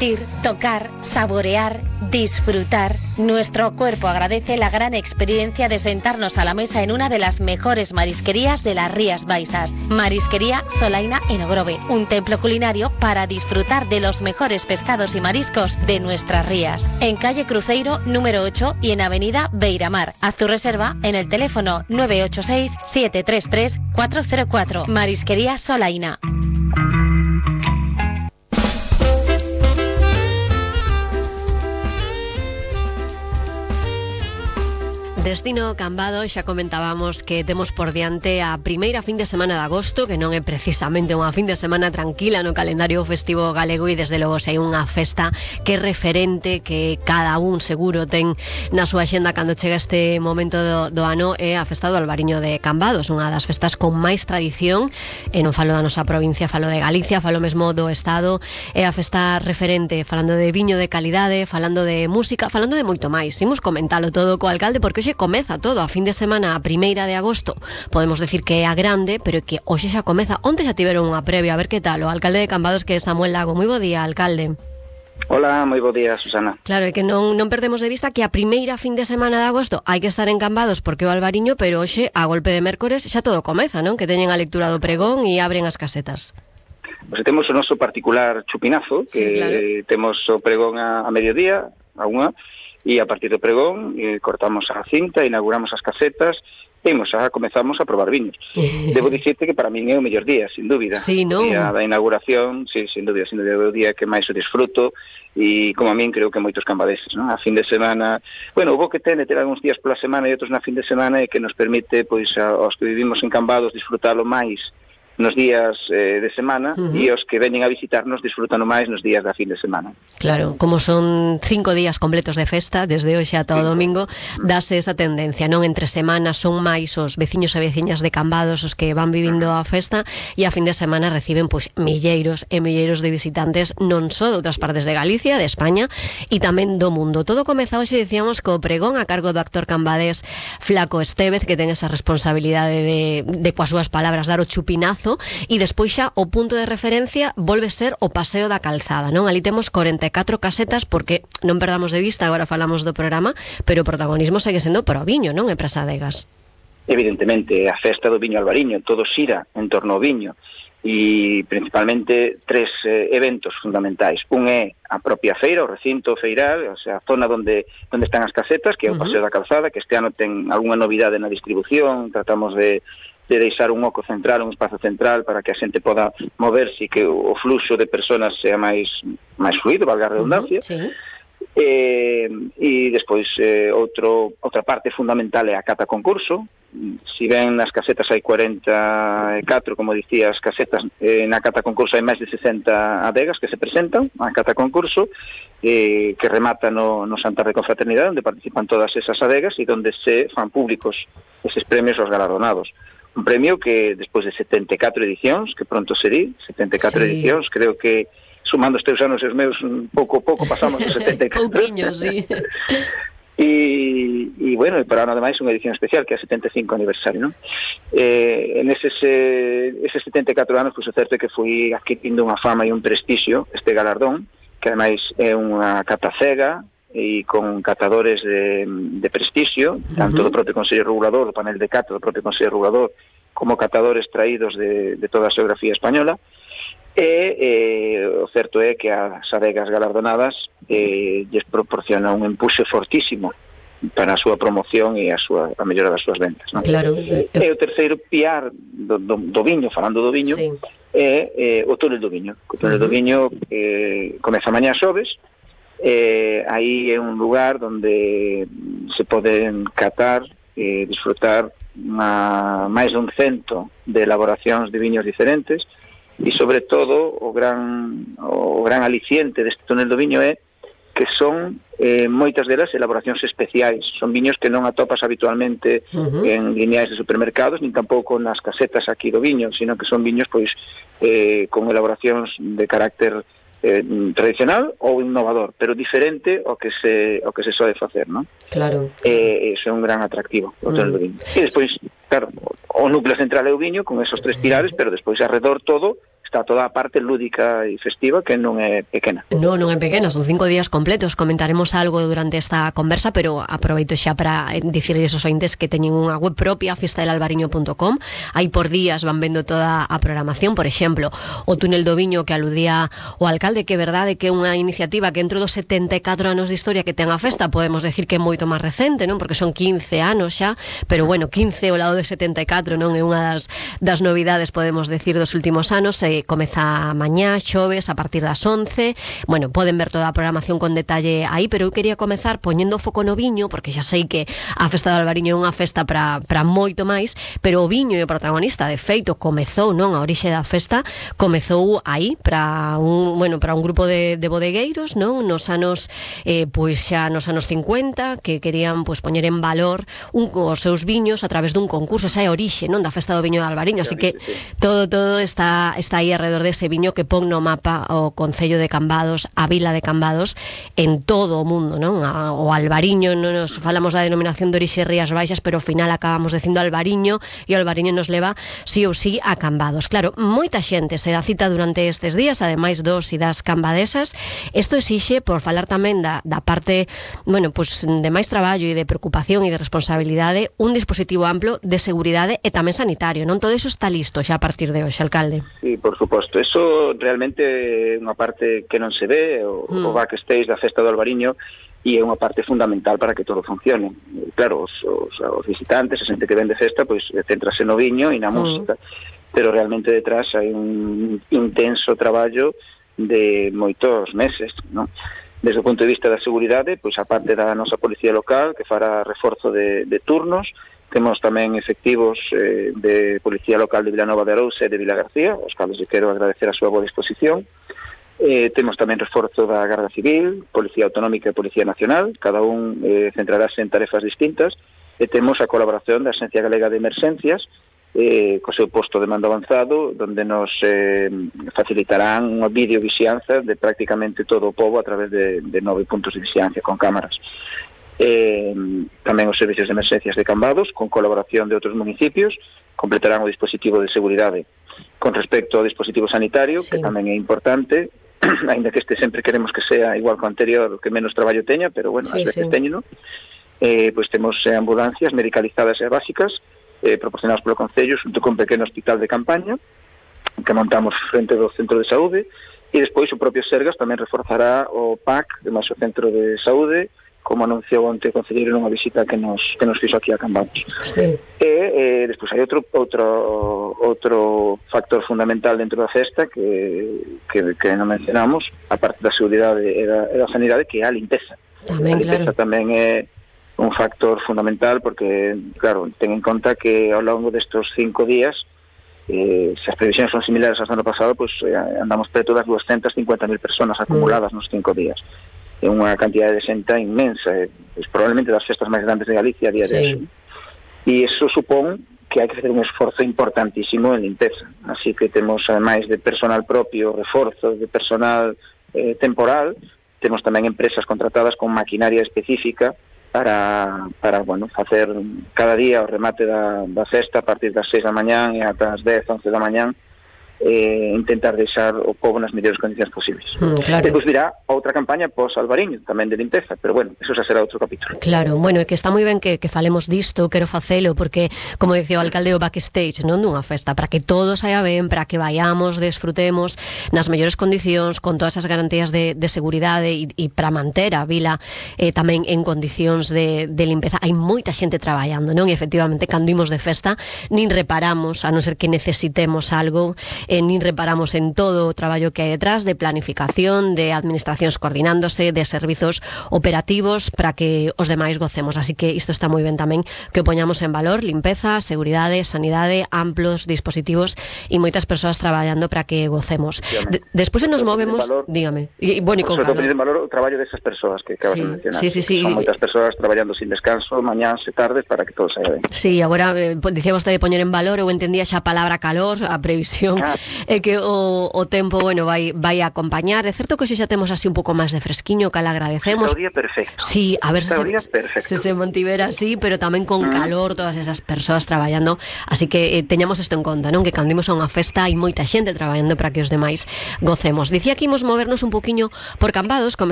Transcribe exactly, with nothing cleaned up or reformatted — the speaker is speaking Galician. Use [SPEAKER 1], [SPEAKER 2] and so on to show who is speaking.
[SPEAKER 1] sentir, tocar, saborear, disfrutar. Nuestro cuerpo agradece la gran experiencia de sentarnos a la mesa en una de las mejores marisquerías de las Rías Baixas. Marisquería Solaina en Ogrove, un templo culinario para disfrutar de los mejores pescados y mariscos de nuestras rías. En calle Cruzeiro número ocho y en avenida Beiramar. Haz tu reserva en el teléfono nueve ocho seis, siete tres tres, cuatro cero cuatro. Marisquería Solaina.
[SPEAKER 2] Destino Cambados, xa comentábamos que temos por diante a primeira fin de semana de agosto, que non é precisamente unha fin de semana tranquila no calendario festivo galego, e desde logo se hai unha festa que é referente, que cada un seguro ten na súa xenda cando chega este momento do, do ano, é a festa do Albariño de Cambados, unha das festas con máis tradición, e non falo da nosa provincia, falo de Galicia, falo mesmo do Estado. É a festa referente, falando de viño de calidade, falando de música, falando de moito máis. Imos comentalo todo co alcalde, porque hoxe comeza todo a fin de semana, a primeira de agosto. Podemos decir que é a grande, pero que hoxe xa comeza. Onte xa tiveron unha previa, a ver que tal. O alcalde de Cambados, que é Samuel Lago. Moi bo día, alcalde.
[SPEAKER 3] Hola, moi bo día, Susana.
[SPEAKER 2] Claro, é que non, non perdemos de vista que a primeira fin de semana de agosto hai que estar en Cambados porque o Albariño, pero hoxe, a golpe de mércores, xa todo comeza, non? Que teñen a lectura do pregón e abren as casetas.
[SPEAKER 3] Pois temos o noso particular chupinazo, que sí, claro. Temos o pregón a, a mediodía, a unha, e a partir do pregón eh, cortamos a cinta, inauguramos as casetas e xa comezamos a probar viños. Debo dicirte que para min é o mellor día, sin dúbida.
[SPEAKER 2] Sí, non?
[SPEAKER 3] O día da inauguración, sí, sin dúbida, sin dúbida, é o día que máis o disfruto, e como a min creo que moitos cambadeses, non? A fin de semana, bueno, o bo que ten de ter algúns días pola semana e outros na fin de semana é que nos permite, pois, aos que vivimos en Cambados disfrutalo máis nos días eh, de semana, uh-huh. e os que veñen a visitarnos disfrutano máis nos días da fin de semana.
[SPEAKER 2] Claro, como son cinco días completos de festa, desde hoxe ata o domingo, dase esa tendencia, non? Entre semanas son máis os veciños e veciñas de Cambados os que van vivindo a festa, e a fin de semana reciben pois milleiros e milleiros de visitantes, non só de outras partes de Galicia, de España, e tamén do mundo. Todo comeza hoxe, dicíamos, co pregón a cargo do actor cambadés Flaco Estévez, que ten esa responsabilidade de, de coas súas palabras, dar o chupinazo. E despois xa o punto de referencia volve ser o Paseo da Calzada, non? Ali temos corenta e catro casetas, porque non perdamos de vista, agora falamos do programa, pero o protagonismo segue sendo para o viño, non? E para as adegas.
[SPEAKER 3] Evidentemente, a festa do viño albariño, todo xira en torno ao viño, e principalmente tres eh, eventos fundamentais. Un é a propia feira, o recinto feiral, o sea, a zona onde, onde están as casetas, que é o Paseo uh-huh. da Calzada, que este ano ten algunha novidade na distribución, tratamos de de deixar un oco central, un espazo central para que a xente poda moverse e que o fluxo de personas sea máis máis fluido, valga a redundancia. Uh-huh, sí. Eh, e despois eh, outro, outra parte fundamental é a cata concurso. Si ben nas casetas hai cuarenta e catro, como dicía, as casetas, eh, na cata concurso hai máis de sesenta adegas que se presentan a cata concurso, eh, que remata no, no Santar de Confraternidade, onde participan todas esas adegas e onde se fan públicos eses premios aos galardonados. Un premio que despois de setenta e catro edicións, que pronto serí, setenta e catro sí. edicións, creo que sumando os teus anos e os meus, pouco pouco pasamos os setenta e catro.
[SPEAKER 2] Pouquiño, sí.
[SPEAKER 3] E, e bueno, e para ano ademais unha edición especial que é o setenta e cinco aniversario, non? Eh, en eses, eh, eses setenta e catro anos, pois o certo é que fui adquirindo unha fama e un prestixio este galardón, que ademais é unha cata cega e con catadores de, de prestixio, tanto uh-huh. do propio Consello Regulador, do panel de cata do propio Consello Regulador, como catadores traídos de, de toda a xeografía española. E eh, o certo é que as adegas galardonadas eh, lles proporciona un empuxo fortísimo para a súa promoción e a súa a mellora das súas ventas, non?
[SPEAKER 2] Claro.
[SPEAKER 3] E o terceiro piar do, do, do viño, falando do viño, sí. é eh, o túnel do viño. O túnel uh-huh. do viño eh, comeza mañá xoves. Eh, aí é un lugar onde se poden catar e disfrutar unha, máis dun cento de elaboracións de viños diferentes, e sobre todo o gran o gran aliciente deste túnel do viño é que son eh, moitas delas elaboracións especiais, son viños que non atopas habitualmente uh-huh. en lineais de supermercados, nin tampouco nas casetas aquí do viño, sino que son viños pois eh, con elaboracións de carácter eh, tradicional ou innovador, pero diferente ao que se ao que se soe facer, non?
[SPEAKER 2] Claro.
[SPEAKER 3] Eh, eso é un gran atractivo o túnel uh-huh. do viño. E despois, claro, o núcleo central é o viño con esos tres pilares, pero despois alrededor todo está toda a parte lúdica e festiva que non é pequena.
[SPEAKER 2] Non, non é pequena, son cinco días completos. Comentaremos algo durante esta conversa, pero aproveito xa para dicirles aos ointes que teñen unha web propia, fiesta del albariño punto com. Aí por días van vendo toda a programación. Por exemplo, o túnel do viño que aludía o alcalde, que é verdade que é unha iniciativa que entre dos setenta e catro anos de historia que ten a festa, podemos decir que é moito máis recente, non? Porque son quince anos xa, pero bueno, quince ao lado de setenta e catro non é unha das, das novidades, podemos decir, dos últimos anos. E comeza mañá, xoves, a partir das once. Bueno, poden ver toda a programación con detalle aí, pero eu quería comezar poñendo foco no viño, porque xa sei que a festa do Albariño é unha festa para, para moito máis, pero o viño e o protagonista, de feito, comezou, non? A orixe da festa comezou aí para un, bueno, para un grupo de, de bodegueiros, non? Nos anos, eh, pois xa nos anos cincuenta, que querían pois poñer en valor un, os seus viños a través dun concurso. Esa é a orixe, non? Da festa do viño do Albariño, así que todo todo está está aí alrededor dese viño que pon no mapa o Concello de Cambados, a vila de Cambados, en todo o mundo, non? A, o Albariño, non nos falamos da denominación de orixe Rías Baixas, pero ao final acabamos dicindo Albariño, e o Albariño nos leva sí ou sí a Cambados. Claro, moita xente se dá cita durante estes días, ademais dos e das cambadesas. Isto exixe, por falar tamén da, da parte, bueno, pues, de máis traballo e de preocupación e de responsabilidade, un dispositivo amplo de seguridade e tamén sanitario, non? Todo iso está listo xa a partir de hoxe, alcalde.
[SPEAKER 3] Sí, por suposto. Eso realmente é unha parte que non se ve, o, mm. o backstage da festa do Albariño, e é unha parte fundamental para que todo funcione. Claro, os, os, os visitantes, a xente que ven de festa, pois centrase no viño e na mm. música, pero realmente detrás hai un intenso traballo de moitos meses, non? Desde o punto de vista da seguridade, pois a parte da nosa policía local, que fará reforzo de, de turnos. Temos tamén efectivos eh, de Policía Local de Vilanova de Arousa e de Vila García, aos cales lle quero agradecer a súa boa disposición. Eh, temos tamén reforzo da Garda Civil, Policía Autonómica e Policía Nacional, cada un eh, centrarase en tarefas distintas, e temos a colaboración da Axencia Galega de Emerxencias, eh, co seu posto de mando avanzado, donde nos eh, facilitarán unha videovisianza de prácticamente todo o pobo a través de, de nove puntos de vixiancia con cámaras. Eh, tamén os servicios de emerxencias de Cambados, con colaboración de outros municipios, completarán o dispositivo de seguridade. Con respecto ao dispositivo sanitario, sí, que tamén é importante, aínda que este sempre queremos que sea igual que o anterior, que menos traballo teña, pero bueno, sí, ás veces sí. teñeno, eh, pois temos eh, ambulancias medicalizadas e básicas, eh, proporcionadas polo Concello, xunto con un pequeno hospital de campaña, que montamos frente do Centro de Saúde, e despois o propio Sergas tamén reforzará o P A C, de máis o Centro de Saúde, como anunciou onte o concelleiro nunha visita que nos que nos fixo aquí a Cambados. Sí. E eh, despois hai outro outro outro factor fundamental dentro da festa que que, que non mencionamos, a parte da seguridade e da, e da sanidade, que é a limpeza. Tamén, a limpeza claro. tamén é un factor fundamental porque, claro, ten en conta que ao longo destes cinco días, eh, se as previsións son similares ao ano pasado, pois pues, eh, andamos preto das duascentas cincuenta mil personas acumuladas mm. nos cinco días. É unha cantidade de xente inmensa, é, é probablemente das festas máis grandes de Galicia a día sí. de hoxe. E iso supón que hai que facer un esforzo importantísimo en limpeza. Así que temos, ademais de personal propio, reforzo de personal eh, temporal, temos tamén empresas contratadas con maquinaria específica para, para bueno, facer cada día o remate da, da festa a partir das seis da mañán e ata as dez, once da mañán, eh, intentar deixar o pobo nas mellores condicións posibles. Mm, claro. Depois virá outra campaña pos Albariño, tamén de limpeza, pero bueno, eso xa será outro capítulo.
[SPEAKER 2] Claro, bueno, é que está moi ben que, que falemos disto, quero facelo, porque, como dicía o alcalde, o backstage, non dunha festa, para que todo saia ben, para que vayamos, desfrutemos nas mellores condicións, con todas as garantías de, de seguridade e, e para manter a vila eh, tamén en condicións de, de limpeza. Hai moita xente traballando, non? E efectivamente, cando imos de festa, nin reparamos, a non ser que necesitemos algo, eh, nin reparamos en todo o traballo que hai detrás de planificación, de administracións coordinándose, de servizos operativos para que os demais gocemos. Así que isto está moi ben tamén que o poñamos en valor: limpeza, seguridade, sanidade, amplos dispositivos e moitas persoas traballando para que gocemos. De, despois nos movemos, valor, dígame. E bueno, e con calor.
[SPEAKER 3] En valor o traballo desas persoas que acabas
[SPEAKER 2] sí,
[SPEAKER 3] de mencionar.
[SPEAKER 2] Sí, sí, sí.
[SPEAKER 3] Son moitas persoas traballando sin descanso, mañáns e tardes, para que todo saia ben.
[SPEAKER 2] Sí, agora eh, dicía vostede poñer en valor, eu entendía xa a palabra calor, a previsión
[SPEAKER 3] ah,
[SPEAKER 2] É que o, o tempo, bueno, vai vai a acompañar. É certo que hoxe xa temos así un pouco máis de fresquiño, que la agradecemos.
[SPEAKER 3] Está o día perfecto.
[SPEAKER 2] Sí, a ver se,
[SPEAKER 3] se,
[SPEAKER 2] se se mantivera así, pero tamén con mm. calor, todas esas persoas traballando. Así que eh, teñamos isto en conta, non? Que cando imos a unha festa hai moita xente traballando para que os demais gocemos. Dicía que imos movernos un poquinho por Cambados, comezamos